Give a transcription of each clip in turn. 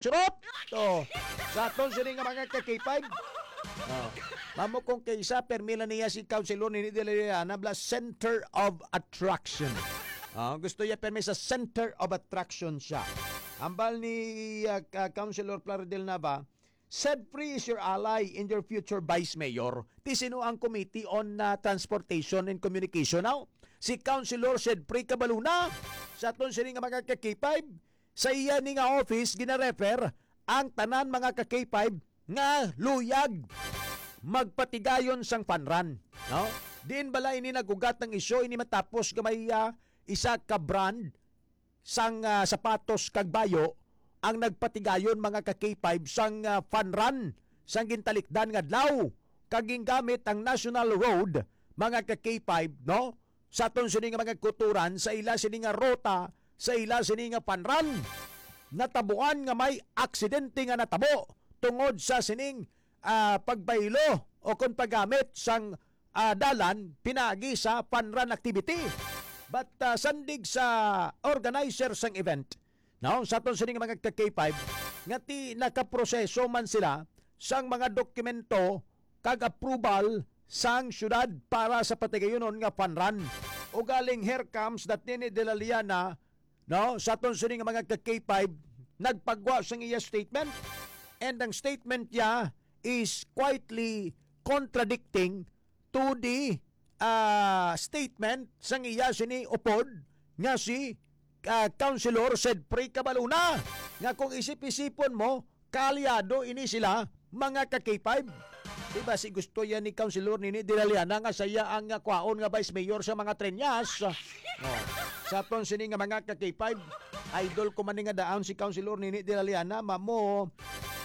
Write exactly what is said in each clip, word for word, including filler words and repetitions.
Charot! Oh, sa aton sini nga mga ka-K five. Oh. Mamo kung kaysa, permi lang niya si Councilor Nini de la Llana, bla, center of attraction. Oh, gusto niya permi sa center of attraction siya. Ambal ni, ah, ka-, Councilor Plaridel Nava, "Sedfrey is your ally and your future vice mayor." Ti sino ang Committee on, ah, Transportation and Communication now? Si Councilor Sedfrey Cabaluna. Sa aton sini nga mga ka-K five, sa iya ni nga office, ginarefer ang tanan mga ka-K five nga luyag magpatigayon sang fun run, no? Diin bala ini nag-ugat ang isyu ini matapos nga may, ah, isa ka brand sang, ah, sapatos kag bayo ang nagpatigayon mga ka-K five sang, ah, fun run sang gintalikdan nga adlaw kag gingamit ang National Road mga ka-K five, no? Sa aton sini nga mga kuturan, sa ila sini nga ruta, sa ila sini nga fun run. Natabuan nga may aksidente nga natabo tungod sa sining, ah, pagbaylo o kon paggamit sang, ah, dalan pinaagi sa fun run activity. But, ah, sandig sa organizer sang event, no, sa aton sini nga mga ka-K five, nga ti nakaproseso man sila sang mga dokumento kag approval sang syudad para sa patigayunon nga fun run. Ugaling here comes that Nini de la Llana, no, sa aton sini nga mga ka-K five, nagpagwa sang iya statement. And ang statement niya is quietly contradicting to the, ah, statement sang iya sini upod nga si, ah, Councilor Sedfrey Cabaluna, nga kung isip-isipon mo, kaalyado ini sila, mga ka-K five. Diba, si gusto yan ni Councilor Nini de la Llana nga siya ang, ah, kwaon nga vice mayor sa mga Treñas. Oh. Sa aton sini nga mga ka-K five, idol ko man ni nga daan si Councilor Nini de la Llana, mamo,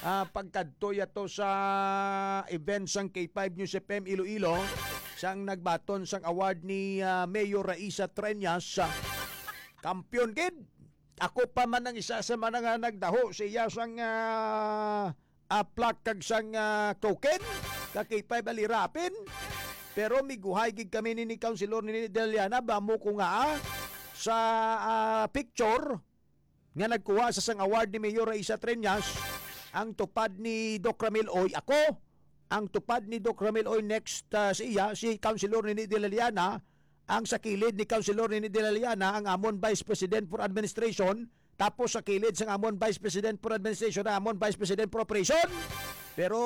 ah, pagkadto yato sa event sang K five News F M Iloilo, sang nagbaton sang award ni, ah, Mayor Raisa Treñas, ah, kampiyon gid. Ako pa man ang isa sa mga nga nagdaho sa iya sang, ah, ah, plaque kag sang, ah, token, ka K five Alirapin. Pero miguhay gid kami ni, ni Councilor Nini de la Llana, bamo ko nga, ah, sa, ah, picture nga nagkuha sa sang award ni Mayor Raisa Treñas, ang tupad ni Doc Ramil Oy ako, ang tupad ni Doc Ramil Oy next, ah, sa iya, si Councilor Nini de la Llana, ang sa kilid ni Councilor Nini de la Llana, ang amon Vice President for Administration, tapos sa kilid sang amon Vice President for Administration, ang amon Vice President for Operation. Pero,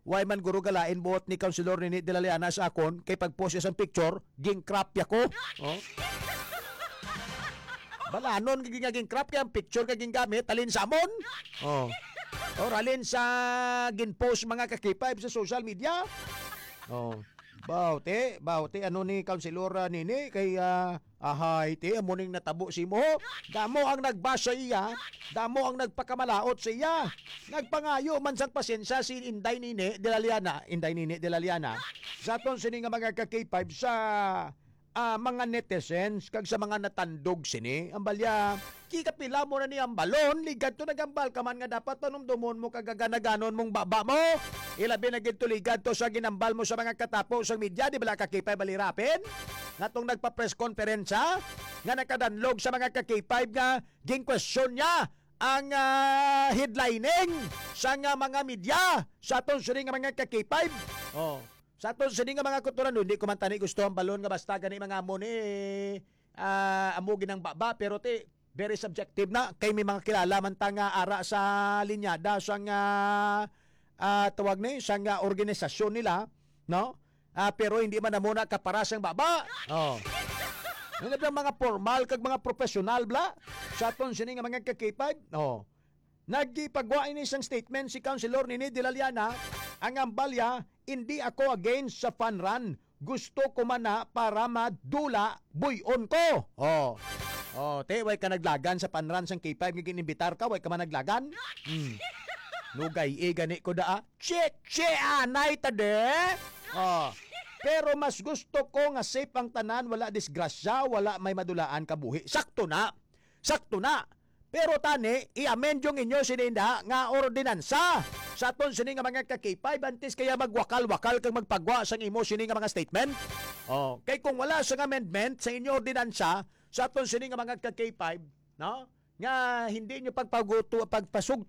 why man guro galain buot ni Councilor Nini de la Llana sa akon, kay pag-post siya sang picture, ging-crop ya ko. Oh. Balanon nga ging-crop kay ang picture kay gingamit, halin sa amon. Oh. Or halin sa gin-post mga ka-K five sa social media. Oh. Bawti, bawti, ano ni Councilor, ah, Nini, kay, ah, ahay, ti, amo ning natabo sa imo. Damo ang nagbasa iya, damo ang nagpakamalaot sa iya. Nagpangayo man sang pasensya si Inday Nini de la Llana, Inday Nini de la Llana. Sa aton sini nga mga ka-K five sa, ah, mga netizens kag sa mga natandog sini, ang balya, kikapila mo na ni ang balon, ligad to nagambal ka man nga dapat panumdomon mo kag ganaganon mong baba mo. Ilabi na gid to ligad to sa ginambal mo sa mga katapo sang media, di bala ka K five Alirapin? Nga tong nagpa-press conference, ha? Nga nakadanlog sa mga ka K five nga gin-question niya ang, ah, headlining sa nga mga media sa aton sini nga mga ka K five. Oh. Sa aton sini nga mga kuturan, hindi ko man tani gusto ang balon nga basta gani mga amo ni, ah, amo ginang baba, pero ti, very subjective na. Kay may mga kilala man ta nga ara sa linyada sa nga, ah, tawag ni, sa nga organisasyon nila, no? Ah, pero hindi man na muna kapara sang baba. Oh. Ano ba mga formal kag mga professional, bla? Sa aton sini nga mga ka K five? Oh. Nagipagwa ini sang statement si Councilor Nini de la Llana, ang ambalya, "Hindi ako against sa fun run. Gusto ko man na para madula, buy-on ko." Oh. Oh, te, way ka naglagan sa fun run sang K five nga ginimbitar ka, way ka man naglagan? Hmm. Nugay, eh, gani ko daa. Che, che, anay ta de. Oh. Pero mas gusto ko nga safe ang tanan, wala disgrasya, wala may madulaan kabuhi. Sakto na. Sakto na. Pero tani, i-amend yung inyo sininda nga ordinansa. Sa aton sini nga mga ka K five, antes kaya magwakal-wakal kag magpagwa sang imo sini nga mga statement. Oh, kay kung wala sang amendment sa inyo ordinansa, sa aton sini nga mga ka K five, no? nga hindi nyo pagpaguto, pagpasugto